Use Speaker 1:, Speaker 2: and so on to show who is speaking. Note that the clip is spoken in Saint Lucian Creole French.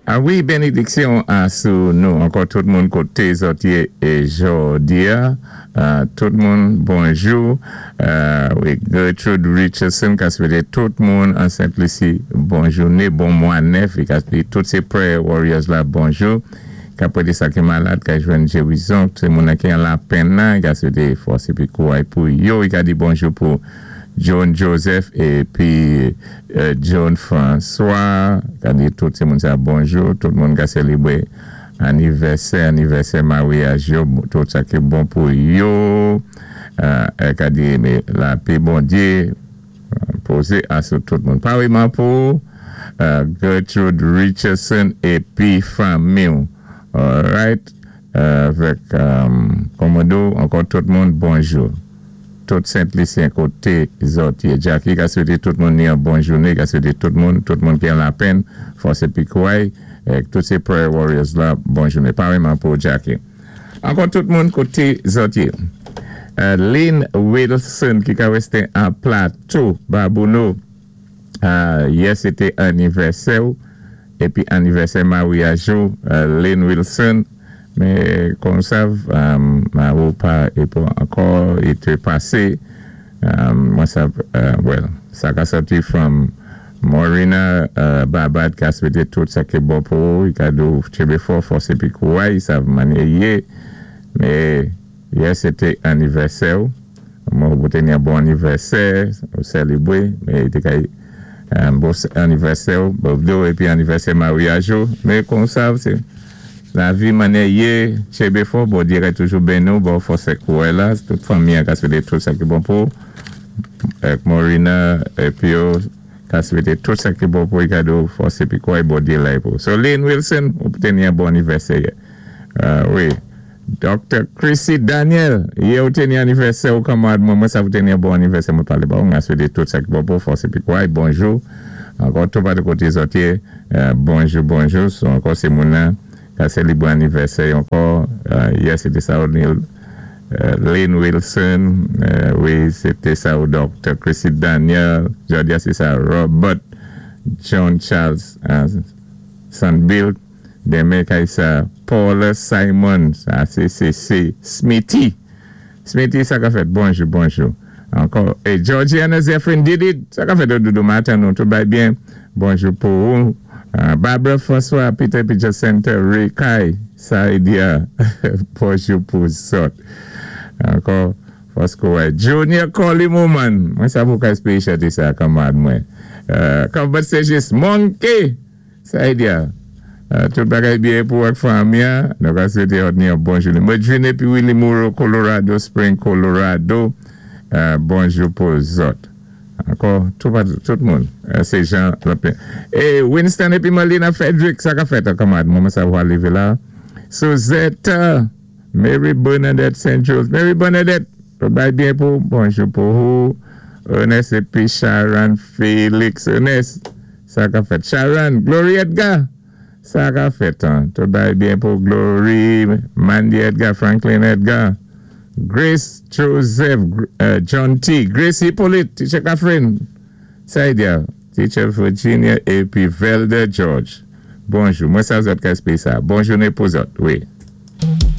Speaker 1: A wi, bénédiksyon a sou nou. Ankò tout moun koté zòt yé jòdi-a. Tout moun, bonjou. Wi, Gertrude Richardson ka swété tout moun an Sent Lisi bon jouné, bon mwa nèf. I ka di tout sé prayer warriors la bonjou. Ka pwété sa ki malad ka jwenn gérizon. Sé moun ki an lapenn nan, i ka swété fòs épi kouray pou yo. I ka di bonjou pou John Joseph épi John François. Ka di tout sé moun sa bonjou. Tout moun ka sélébré anivèsè, anivèsè maryaj yo, tout sa ki bon pou yo. Ka di mé lapè Bondyé pozé a sou tout moun. Paréyman pou Gertrude Richardson épi fanmi. Alright. Avèk Komodo, ankò tout moun, bonjou. Tout Sent-Lisyen koté zòt yé. Jackie ka swété tout moun ni yon bon jouné, ka swété tout moun ki an lapenn, fòs épi kouray, tout sé prayer warriors la, bon jouné. Paréyman pou Jackie. Ankò tout moun koté zòt yé. Lynn Wilson ki ka wèsté an Plateau, Babouno. Yè sé té anivèsè ou, épi anivèsè maryaj ou, Lynn Wilson. Mé kòm sav, mari ou pa épò ankò, i té pasé. Mwen sav, well, sa ka sòti from Morina Babad ka swété tout sa ki bon pou ou, i ka di ou tjenbé fò, fòs épi kouray, sav mannyè yé. Mé yè sé té anivèsè ou, mwen ou té ni yon bon anivèsè, ou sélébré, mé té ka bon anivèsè ou, birthday épi anivèsè maryaj ou, mé kòm sav, sé lavi mannyè yé, tjenbé fò, Bondyé ka toujou béni ou, ba ou fòs ak kouray la, tout fanmi ka swété tout sa ki bon pou ou. Ak Morina épi yo ka swété tout sa ki bon pou ou, ka di ou fòs épi kouray, Bondyé la pou ou. So Lynn Wilson, ou té ni yon bon anivèsè yè. Wi. Dr. Chrissy Daniel, yè ou té ni anivèsè ou kanmad mwen, mwen sa ou té ni yon bon anivèsè, mwen palé ba ou, mwen swété tout sa ki bon pou ou, fòs épi kouray, bonjou. Ankò tout patou koté zòt yé, bonjou, bonjou. So ankò sé moun nan ka sélébré anivèsè ankò, yè sé té sa ou Neil, Lynn Wilson, wi, sé té sa ou Dr. Chrissy Daniel, jòdi-a sé sa Robert John Charles Sandbill, denmen kay sa Paula Simon, sa sé sé sé Smithy. Smithy, sa ka fèt, bonjou, bonjou. Ankò, é Georgiana Zephyrin Didi, sa ka fèt doudou maten nou, tout bay byen, bonjou pou ou. Barbara François, Peter Picture Center, Ray Kai, Saidia, bonjou pou zòt. Ankò, fòs wè. Junior Collie Mouman, mwen sa pou ka espéyé chanté sa, kanmad mwen. Combat c'est juste Monkey, Saidia. Tout bagay byen pou ak fanmi, nou ka swété ni yon bon jouné. Mwen June épi Willie Moreau, Colorado Spring, Colorado. Bonjou pou zòt. Ankò, tout moun. Sé Jean Lopin. É Winston épi Melina Frederick, sa ka fèt, kanmad. Mwen sa wè livé la. Suzette, Mary Bernadette St. Jules. Mary Bernadette, tout bay byen pou, bonjou pou ou. Ernest épi Sharon Félix. Ernest, sa ka fèt. Sharon, Glory Edgar. Sa ka fèt, an. Tout bay byen pou Glory, Mandy Edgar, Franklin Edgar, Grace Joseph, John T., Grace Hippolyte, Teacher Catherine, Saidia, Teacher Virginia, épi Velda George. Bonjou, mwen sa zòt ka espéyé sa. Bon jouné pou zòt, wi.